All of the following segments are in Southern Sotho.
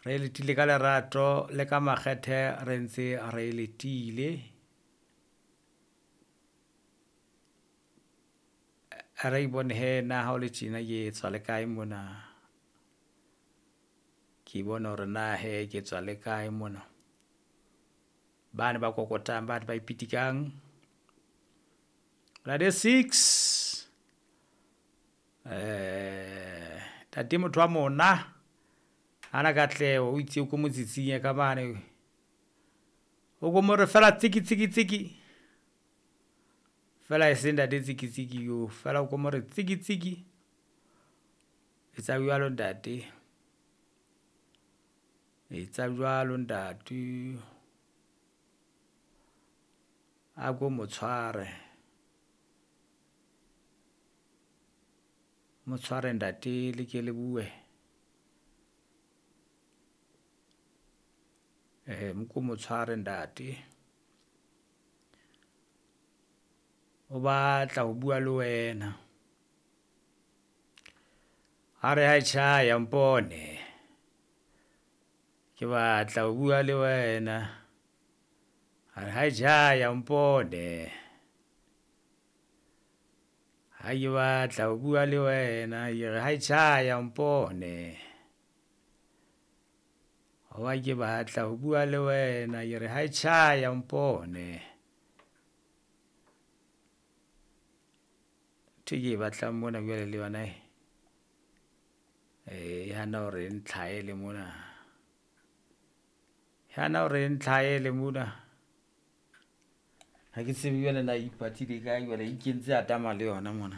Re letile ka lerato le ka makgethe re ntse re letile. Re bone he na ha o le tjena ke tswa le kae mona. Ke bone hore na he ke tswa le kae mona. Bane ba kokotang, bane ba ipitikang. Ntate 6 ntate motho wa mona hana katleho o itse o ko motsitsinye ka mane, o ko more fela tsiki tsiki tsiki fela, e seng ntate tsiki tsiki yo fela, o ko more tsiki tsiki. Etsa jwalo ntate, etsa jwalo ntate, a ko mo tshware, mo tshware ntate, le ke le bue. Mo ko mo tshware ntate, o batla ho bua le wena. A re ha tjhaya mpone, ke batla ho bua le wena. A re ha tjhaya mpone, ha ke batla ho bua le wena. Ke re ha tjhaya mpone, hoba ke batla ho bua le wena. Ke re ha tjhaya mpone. Ntho e ke e batlang mona jwale le yona e hana hore e ntlhahele mona, e hana hore e ntlhahele mona. Ha ke tsebe jwale na e ipatile kae jwale, e ikentse atama le yona mona.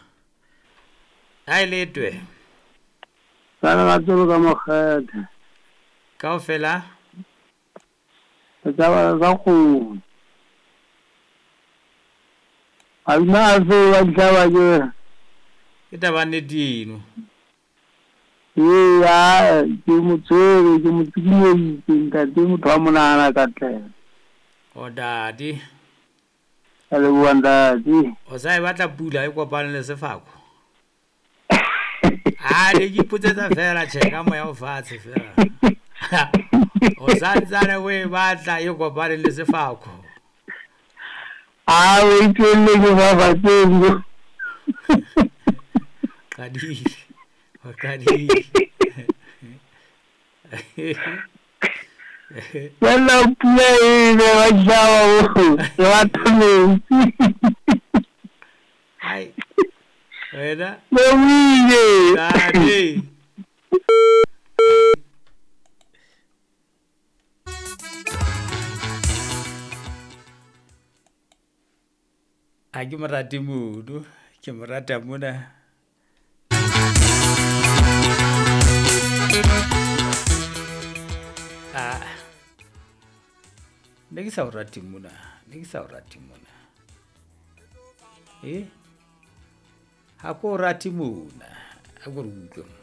Ha e letwe. Ka lerato ka mokgethe. Kaofela? Tsa tsa kgomo. A nna a se wa ditlhaba ke. Ke taba nnete eno. Ee, a ke mo tshwere, ke mo tsikinyeditse ntate motho wa monahana katleho. O ntate. Ka leboha ntate. O sa e batla pula e kopane le sefako? A ne ke ipotsetsa fela, tjhe, ka moya o fatshe fela. O santsane o e batla e kopane le sefako? A o itwelle ke fafatseng. Qadile. O qadile. Fela pula e ne ba ditjhaba bo, re batla metsi. Ai. Wena. Lebohile. Ntate. Ha ke mo rate mono, ke mo rata mona. Ah. Ne ke sa o rate mona, ne ke sa o rate mona. Eh? Ha ko rate mona, a ko re utlwe.